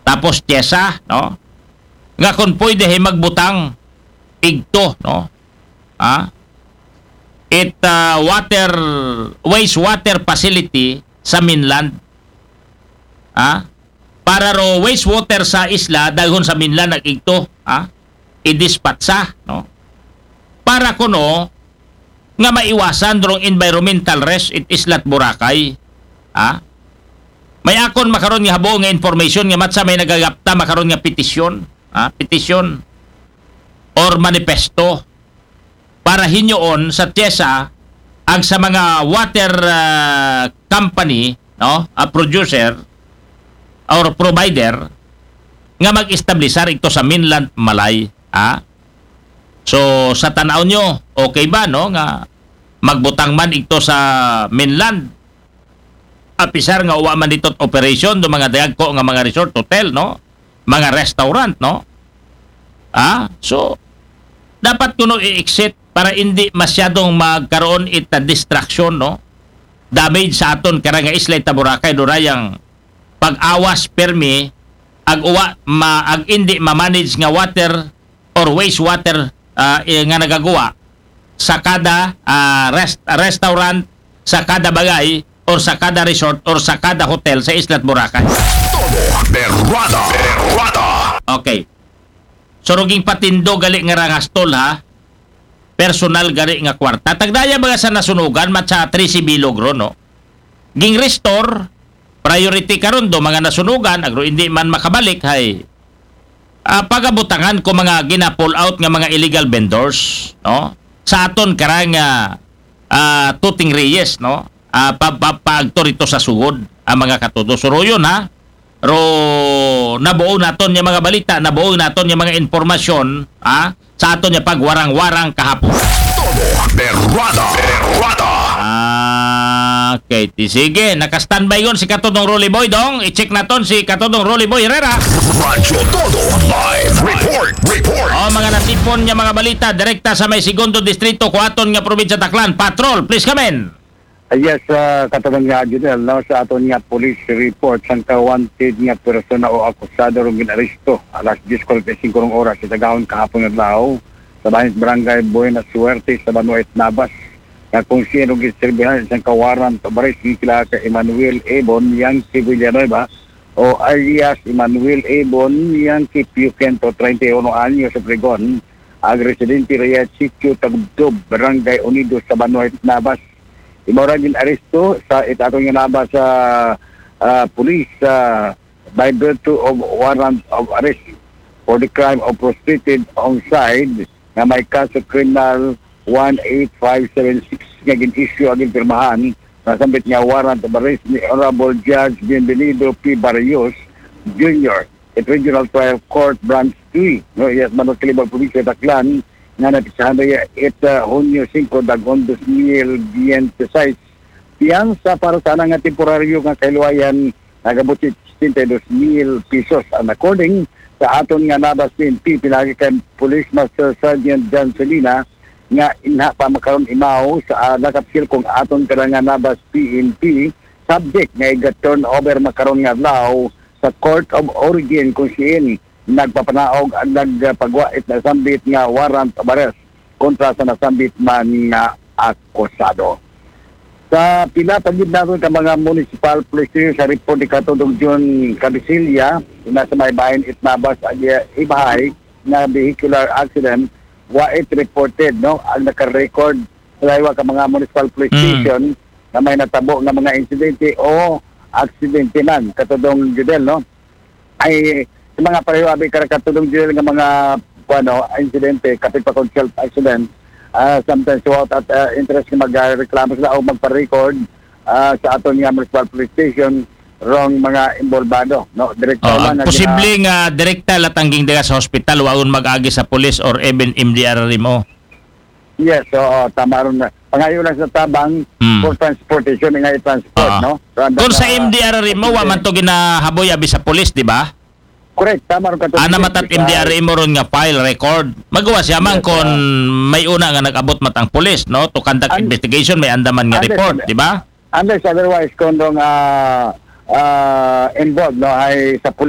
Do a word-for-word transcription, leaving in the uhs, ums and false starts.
tapos TESA, no? Nga kung pwede hay magbutang igto, no? Ah? It ah, water, wastewater facility sa mainland. Ah? Para ro wastewater sa isla, daghon sa mainland nag-igto, ah? I-dispatch sa, no? Para kuno nga maiwasan rong environmental risk it Isla't Boracay. Ah? May akon makaron nga habo nga information nga matsa may nagagapta makaron nga petisyon, ah, petisyon or manifesto para hinyoon sa TESA ag sa mga water ah, company, no, a producer or provider nga mag-establisar igto sa mainland, Malay, ah. So sa tanaw nyo, okay ba, no, nga magbutang man igto sa mainland? Apisar nga wa man dito't operation do mga dagko nga mga resort hotel, no? Mga restaurant, no? Ah, so dapat kuno i-exit para hindi masyadong magkaroon ita distraction, no? Damage sa aton karang nga isla ita Boracay, durayang pag-awas permi ag uwa ma ag hindi ma-manage nga water or wastewater ah, eh, nga nagaguwa sa kada ah, rest, restaurant, sa kada bagay, or sa kada resort, or sa kada hotel sa Isla't Boracay. Todo de rada. De rada. Okay. So, ruging patindo gali nga rangastol, ha? Personal gali nga kwarta. Tagdaya baga sa nasunugan, matsa trese bilog ro, no? Ging restore, priority karon do, mga nasunugan, agro hindi man makabalik, hay ah, pagabutangan ko mga gina-pull out nga mga illegal vendors, no? Sa aton karang ah, ah, Tuting Reyes, no? Ah, pa, pa, paagto rito sa sugod ang mga katudo. Suruyon, ha? Ro nabuo naton nga mga balita, nabuo naton nga mga impormasyon, ha? Sa aton nga pagwarang-warang kahapon. Todo de rada. De rada. Ah, okay. Ti sige, naka-standby gon si Katudong Rolly Boy, dong. I-check naton si Katudong Rolly Boy Herrera. Radyo Todo Live Report. Report. Oh, mga nasipon nga mga balita direkta sa may Segundo Distrito, kuaton nga probinsya Taclan. Patrol, please come in. Ah, yes, ah, Katudong nga Judel, no, sa aton nga police report, sangka wanted nga persona o akusado rong ginaresto alas diyes kuwarenta y singko rong oras sa gahon kahapon nga adlaw sa bahin sa barangay Buena Suerte sa Banuet, Nabas, nga kung siya rong gisirbihan sa sangka warrant of arrest nga kilala kay Emmanuel Ebon Yankee Villanueva o alias Emmanuel Ebon Yankee Piuquento, treinta y uno anyos, Obregon, ag residente ria Sitio Tagubdob, Barangay Unido sa Banuet, Nabas. Imaw ra gin-aresto sa itaton nga Nabas sa ah, police ah, by virtue of warrant of arrest for the crime of prostituted homicide nga may kaso criminal one eight five seven six nga gin-issue ag pirmahan sa sambit nga warrant of arrest ni Honorable Judge Bienvenido P. Barrios Junior, it Regional Trial Court Branch three, no, iyas Manok Kalibag Provincia, Taclan, nga napisahan niya it ah, Hunyo singko, dagon dos mil biyente sais. Piyansa para sa ana nga temporaryo nga kahilwayan nagabot sa sesenta y dos mil pesos. And according sa aton nga Nabas P N P, pinagi kay Police Master Sergeant John Solina, nga inha pa makaron imaw sa ah, lakap silkong aton kada nga Nabas P N P, subject nga iga-turnover makaron nga adlaw sa Court of Origin kung siin nagpapanaog ang nagpagwait na sambit nga warrant of arrest kontra sa nasambit man nga akusado. Sa pila pa gid naton ka mga municipal police station sa report ni Katudong John Cabisilla, nasa may bahin it Nabas ag ibahay nga vehicular accident, wa it reported, no, ang naka-record sa laywa ka mga municipal police Mm. station na may natabo nga mga insidente o aksidente man, Katudong Judel, no? Ay, sa mga pareho abi kara Katudong Judel nga mga ano, insidente, kapit pa kung self accident, ah, sometimes without at ah, interest nga magreklamo sila o magpa-record ah, sa aton nga municipal police station rong mga involbado, no? Direkta Oh, lang ang nga posible gina- nga direkta latang ging dira sa hospital, waon mag-agi sa police or even M D R R M O. Yes, oo, tama ron na. Pangayo lang sa tabang Mm. for transportation nga i-transport, Ah. no? So, andang Kung sa na- M D R R M O, wa man to ginahaboy abi sa police, di ba? Correct, tama ron ka. Ana matat M D R M O ron nga file record. Magawa siya man Yes, kung ah. may una nga nag-abot matang police, no? To conduct An- investigation, may andaman nga Unless report, di ba? Unless otherwise, kung dong ah, ah, involved, no, ay sa police